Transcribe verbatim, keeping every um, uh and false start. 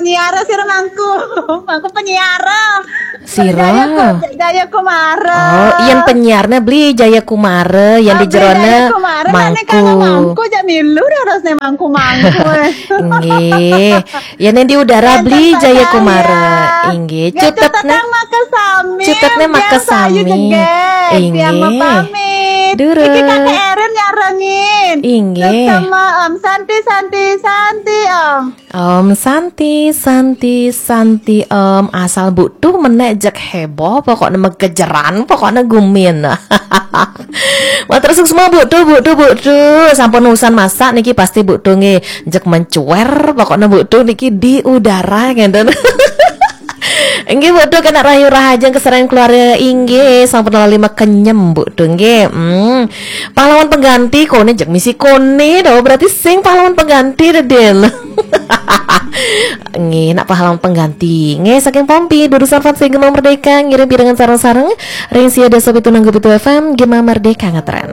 Penyiar sira mangku. Mangku penyiar. Sira. Jaya Ku-, Jaya Kumara. Oh, yen penyiarne beli Jaya Kumara, yen di Abli jerone Jaya Kumara, nek nek karo mangku. Mangku jak milu harusnya mangku-mangku. Nggih. Yen di udara beli Jaya Kumara. Inggih, cutetne. Cutetne maka sami. Cutetne maka Biasa ayu sami. Jeget. Tiang Inggih. Mau pamit. Durus. Iki Kakek Erin nyarengin. Inggih. Sama Om Santi, Santi, Santi, Om. Om Santi, Santi, Santi, Om. Asal Mbok Tu menek jek heboh, pokoknya megejeran, pokoknya gumin. Matur suksma Mbok Tu, Mbok Tu, Mbok Tu. Sampun usan masak niki pasti Mbok Tu nggih jek mencuer, pokoknya Mbok Tu niki di udara ngenten. Inggih Mbok Tu kena rahayu rahajeng keserempet keluarga inggih sampun lali mekenyem Mbok Tu nggih. Hmm. Pahlawan pengganti kone jek misi kone do, berarti sing pahlawan pengganti de, Din. Nggih, nak pahlawan pengganti. Nggih, saking Pompi, Dudusan Fans Gema Merdeka ngirim pirengan sareng-sareng ring sia desa pitu nanggu pitu F M Gema Merdeka ngetren.